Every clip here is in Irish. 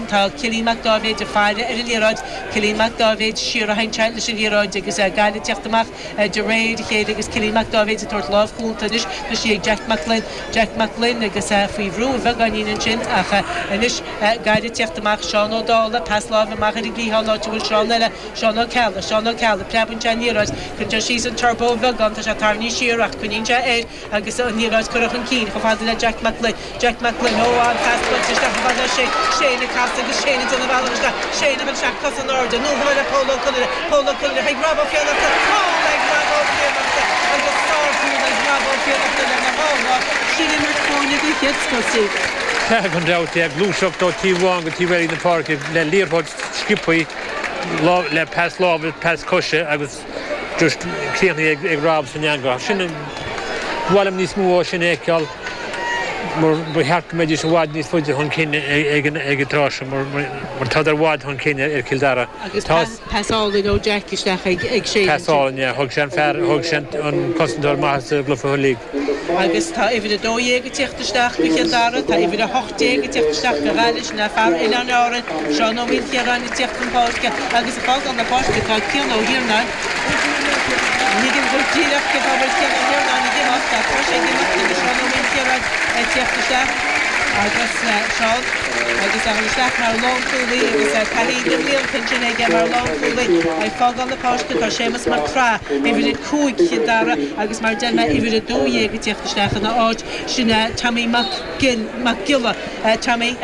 Tá Cillian Mac Dáibhéid ag faire ar an liathróid. Cillian Mac Dáibhéid siar a théann sé leis an liathróid agus Gaillimh ag teacht amach de réir a chéile agus Cillian Mac Dáibhéid ag tabhairt lámh chúnta anois. Tá sí ag Jack Mac Gloinn. Jack Mac Gloinn agus é faoi bhrú a bheagáinín ansin ach anois Gaillimh ag teacht amach. Seán Ó Dálaigh, pas láimhe amach ar an gcliathán áit a bhfuil Seán eile, Seán Ó Ceallaigh, Seán Ó Ceallaigh, preabann sé an liathróid, cuireann sé síos an turbo a bheagán, tá sé tarraingthe siar ach coinníonn sé air agus an liathróid curtha chun cinn chomh fada le Jack Mac Gloinn, Jack Mac Gloinn, ó an pas buailte isteach chomh fada le Shane, Shane ag casadh agus Shane ag déanamh a bhealach isteach, Shane ag dul isteach, cosa in airde, anonn chomh fada le Pól Ó Conaire, Pól Ó Conaire chuig Rob Ó Fiannachta, cúl ag Rob Ó Fiannachta agus sárchúl ag Rob Ó Fiannachta lena dhá lámh, sin imirt foirne den chéad scoth, Steve. Sea, gan dabht, é ag gluaiseacht ó taobh amháin go taobh eile na páirce le liathróid sciobtha le pas láimhe, pas coise agus just críochnaithe ag Rob san eangach. Sin, ba mhaith liom níos mó ó sin a fheiceáil mar ba cheart go mbeidís i bhfad níos faide chun cinn ag an tráth seo mar tádar i bhfad chun cinn ar Chill Dara. Agus pas álainn ó Jack isteach ag Shane. Pas álainn, yeah. Thug sé an fear, thug sé an cosantóir maith sa gcluiche uilig. Agus tá uimhir 12 ag tíocht isteach do Chill Dara, tá uimhir 18 ag tíocht isteach do Ghaillimh, sin é fear Oileáin Árann, Seán Ó Maoilchiaráin ag tíocht chun páirce agus ag fágáil na páirce tá Cian Ó hIarnáin. Ní thuigim go díreach cén fáth a bhfuil Cian Ó hIarnáin ag imeacht ach tá sé ag imeacht agus Seán Ó Maoilchiaráin ag tíocht isteach agus Seán agus é ag dul isteach mar lánchúlaí agus taithí na mblianta ansin aige mar lánchúlaí. Ag fágáil na páirce tá Séamus Mac Craith, uimhir 5 Chill Dara agus mar a deir mé uimhir 12 ag tíocht isteach ina áit. Sin é Tommy Mac Mac Giolla. Tommy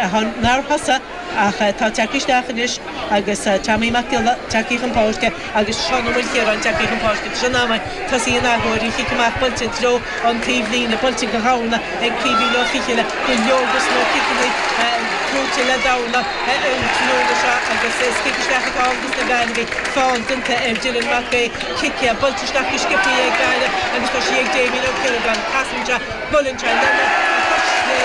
nár thosaigh ach atá tagtha isteach anois agus Tommy Mac Giolla tagtha chun páirce agus Seán Ó Maoilchiaráin tagtha chun páirce. Tá sé in am tosaí an athuair, an chic amach buailte i dtreo an taobh líne, buailte go hAmhna ag Caoimhín Ó Fichille, go leor dos na ciceanna buaite le Damhna an tráthnóna seo agus is cic isteach atá ann dos na Gaillimhigh. Feall déanta ar Dylan Mac Aodha, cic buailte isteach go sciobtha ag Gaillimh agus tá sí ag Damien Ó Ciaragáin. Casann sé, buaileann sé lena chois chlé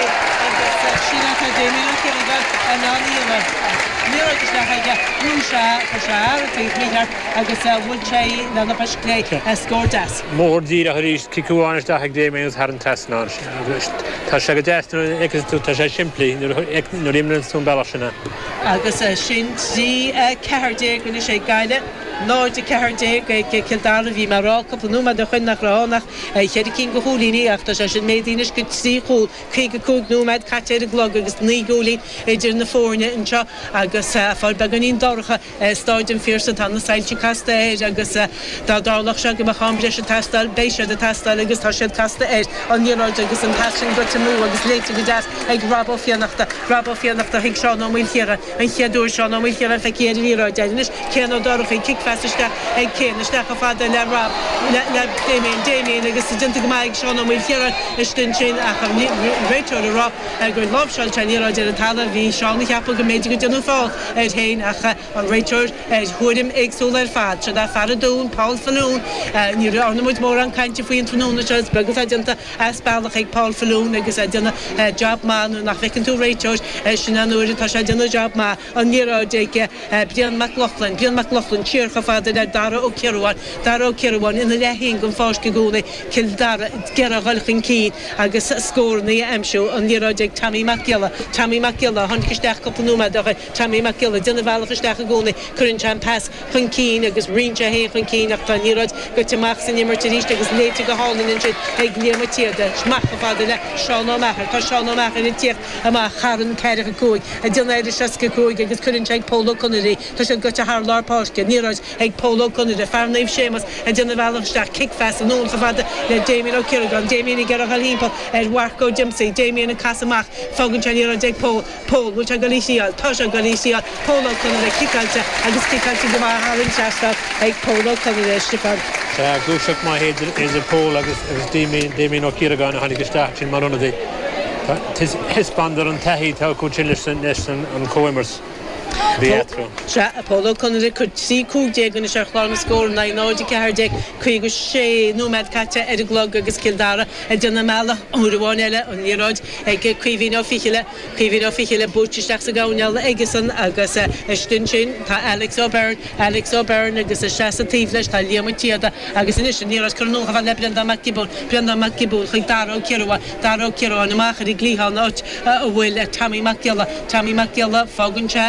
agus sin atá Damien Ó Ciaragáin in ann a dhéanamh. Liathróid isteach aige, bhrúigh sé, chuir sé ar an taobh mícheart agus bhuail sé í lena chois chlé. Scór deas. Mór díreach arís, cic amháin isteach ag Damien agus thar an trasnán. Tá sé go deas nuair a fheiceanns tú, tá sé simplí nuair a imríonns tú an bealach sin é. Agus sin 3, 14 anois ag Gaillimh, 0, 14 ag Cill Dara. Bhí mé ag rá cúpla nóiméad ó shoin nach raibh ann ach cheithre cinn de chúilíní ach tá sé sin méadaithe anois go trí chúl. 55 nóiméad caite ar an gclog agus naoi gcúilín idir na foirne anseo agus fáil beagáinín dorcha. Stáid an Phiarsaigh, tá na soilse casta air agus dá dtarlódh sé go mbeadh am breise ag teastáil, beidh siad ag teastáil agus tá siad casta air. An liathróid agus an pas sin goite amú agus léite go deas ag Rob Ó Fiannachta. Rob Ó Fiannachta chuig Seán Ó Maoilchiaráin. An chéad uair Seán Ó Maoilchiaráin feicthe ar an liathróid air anois. Cian Ó Dorchaí, cic-phas isteach ag Cian, isteach chomh fada le Rob, le Damien, Damien agus déanta go maith ag Seán Ó Maoilchiaráin istigh ansin ach an réiteoir ag rá gur láimhseáil sé an liathróid ar an talamh. Bhí Seán ag ceapadh go mb'fhéidir go déanadh feall air féin ach an réiteoir ar thuairim éagsúil ar fad. Siod é fear an Dúin, Paul Faloon. Ní dhearna muid mórán cainte faoi an tráthnóna seo. Is beag atá déanta as bealach ag Paul Faloon agus é ag déanamh job maith. Nuair nach bhfeiceann tú réiteoir, sin an uair atá sé ag déanamh job maith. An liathróid ag Brian Mac Lochlainn. Brian Mac Lochlainn siar chomh fada le Dara Ó Ciarubháin. Dara Ó Ciarubháin ina leath féin den pháirc i gcónaí. Cill Dara ag iarraidh a dhul chun cinn agus scóranna a aimsiú. An liathróid ag Tommy Mac Giolla. Tommy Mac Giolla a tháinig isteach cúpla nóiméad ó shin. Tommy Mac Giolla ag déanamh a bhealach isteach i gcónaí. Cuireann sé an pas chun cinn agus ritheann sé féin chun cinn ach tá an liathróid goite amach san imirt arís agus léite go hálainn ansin ag Liam Ó Téada. Amach chomh fada le Seán Ó Meachair. Tá Seán Ó Meachair ag tíocht amach thar an 45, ag déanamh ar an 65 agus cuireann sé ag Pól Ó Conaire í. Tá siad goite thar lár páirce. An liathróid ag Pól Ó Conaire, fear Naomh Séamus ag déanamh a bhealach isteach, cic-phas anonn chomh fada le Damien Ó Ciaragáin, Damien ag iarraidh a dhul thimpeall ar Mharc Ó Diomsaigh, Damien ag casadh amach, fágann sé an liathróid ag Pól, Pól, bhfuil sé ag dul í thriáil? Tá sé ag dul í thriáil, Pól Ó Conaire, ciceáilte agus ciceáilte go maith thar an trasnán ag Pól Ó Conaire, Stiofán. Sea, gluaiseacht maith idir Pól agus Damien, Damien Ó Ciaragáin a tháinig isteach ansin mar ionadaí. Thaispeánadar an taithí atá acu sin leis an chomhimirt. Bhí eatarthu. Sea, a Pól Ó Conaire ag cur 13 15 anois ar chlár na scór in aghaidh 0, 14, 56 nóiméad caite ar an gclog agus Cill Dara ag déanamh a mbealach uair amháin eile, an liathróid ag Caoimhín Ó Fichille, Caoimhín Ó Fichille buailte isteach sa gcoirnéal aigesan agus istigh ansin tá Alex O'Byrne, Alex O'Byrne agus isteach sa taobh leis tá Liam Ó Téada agus anois an liathróid curtha anonn chomh fada le Breandán Mac Giobúin, Breandán Mac Giobúin chuig Dara Ó Ciarubháin, Dara Ó Ciarubháin amach ar an gcliathán áit a bhfuil Tommy Mac Giolla, Tommy Mac Giolla, fágann sé.